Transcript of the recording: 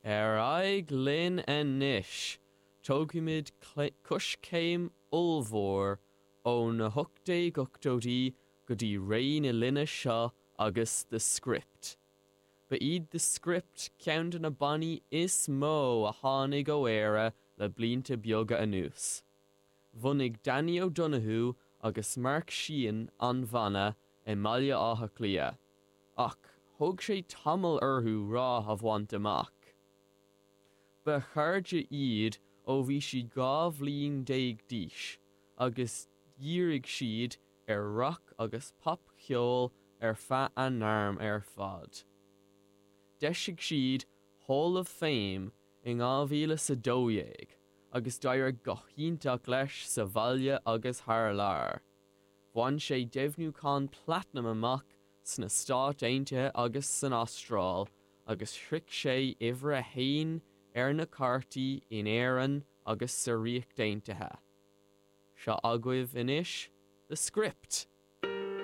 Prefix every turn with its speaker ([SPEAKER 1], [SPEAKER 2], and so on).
[SPEAKER 1] Ar aghaidh linn anois, tógfaimid coiscéim ollmhór ó na 1880idí go dtí ré na linne seo agus The Script. Ba iad The Script ceann de na bannaí is mó a tháinig ó Éire le blianta beaga anuas. Bhunaigh Danny O'Donoghue agus Mark Sheehan an banna i mBaile Átha Cliath, ach thóg sé tamall orthu rath a bhaint amach. Ba chairde iad ó bhí siad 12 bhliain d'aois agus dhírigh siad ar rac agus popcheol ar feadh a ngairm ar fad. D'eisigh siad Hall of Fame in 2012 agus d'éirigh go hiontach leis sa bhaile agus thar lear. Bhain sé deimhniúchán platanaim amach sna Stáit Aontaithe agus san Astráil agus shroich sé uimhir a haon ar na cártaí in Éirinn agus sa Ríocht Aontaithe. Seo agaibh anois The Script!